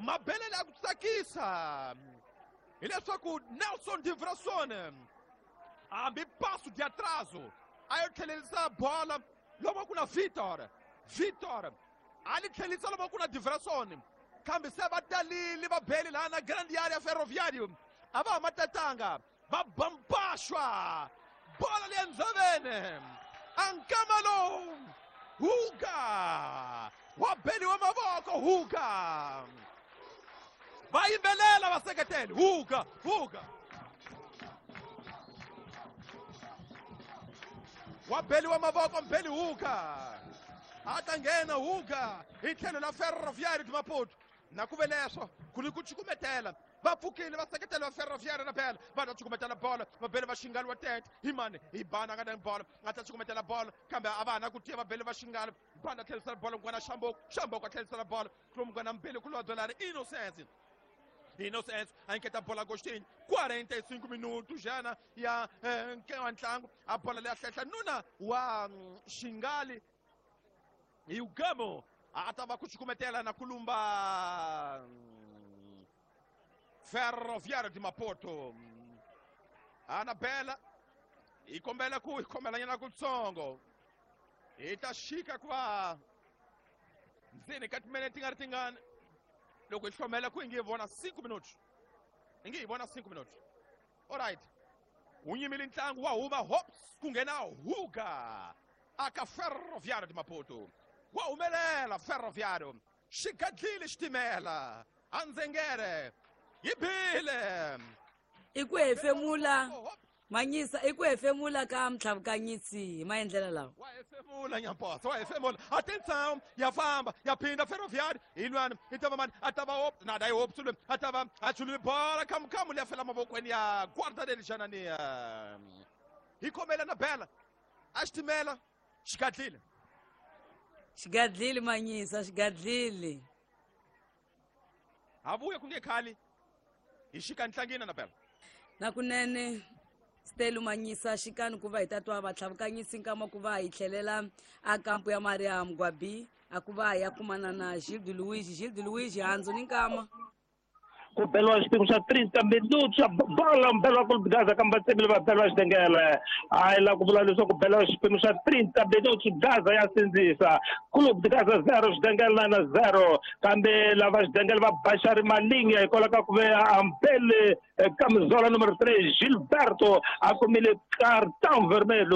Mabelele ya ku tsakisa hileswaku Nelson Divrason hambi paso de atraso a yo tlhelerisa bola lomu ku na Victor. Victor a li tlhelisa lomu ku na Divrason, kambe se va talile va beli laha na Grand Area Ferroviário a va ha ma tatanga, va bampaxwa bola leya ndzaveni. A nkama lowu Huga wa beliwa mavoko, Huga va yimbelela vaseketeli, Huga Huga wa beliwa mavoko, mbeli Huga a ta nghena Huga hi tlhelo la Ferroviário de Maputo. Na ku ve leswo ku ni ku cukumetela, va pfukile vaseketeli va Ferroviário na bela va ta cukumetela bolo, va bele va Xingali wa tete hi mani hi bana nga na bolo, a ta cukumetela bolo kambe a va ha na ku tiya, va bele va Xingali. Bana tlherisela bolo n'wana Xamboko, Xamboko a tlherisela bolo kulomukwana mbele kulodolari Innocence. Innocence a nyiketa bola Agostinho. 45 minutos jana ya wa ntlangu, a bola leya hlehla nuna wa Xingali hi Ugamo a ta va ku cukumetela na kulumba Ferroviário de Maputo. Anabela hi kombela ku hi khomelanyana kutsongo, hi ta xika ku va ndzeni ka timinete ti nga ri tingani. Loko hi hlomela ku hi nge vona 5 minutos, hi nge hi vona 5 minutos. Alright, wu nyimile ntlangu, wa huma Hops ku nghena Huga aka Ferroviário de Maputo. Wa humelela Ferroviário, xi gadlile xitimela andzengere yi bile. I ku hefemula Manyisa, i ku hefemula ka Mtlhavukanyisi hi maendlelo lawa. Wa hefemula Nyamposa, wa hefemula. Atenção, ya famba, ya phinda Ferroviário. Hi lwani i ta va mani? A ta va Hope nada hi Hope sulwe, a ta va a chulile bola khamukamu leya fela mavokweni ya guarda dele Janania. Hi khomela na bela a xitimela xi gadlile. Xigadlile Manyisa, xigadlile. Ha vuya ku nge khali hi xika ntlangini na bela. Na kunene Stelu Manyisa, xikani ku va hi ta twa vatlhavukanyisi nkama ku va hi tlhelela a kampu ya Maria Mgwabi, a ku va ya kumana na Gildo Luigi. Gildo Luigi, handzu ni nkama. Ku beliwa xiphiqo xa 30 minutos xa bola, mbelo wa Clube Gaza kambe va tsemile va beliwa xidengele. Hayi la ku vula leswaku beliwa xiphemu xa 30 minutos, Gaza ya sindzisa Clube Gaza 0, xidengele na 0, kambe lava xidengele va baxari malinga hikwalaho ka ku ve ambele camisola numero 3 Gilberto a kumile cartão vermelho.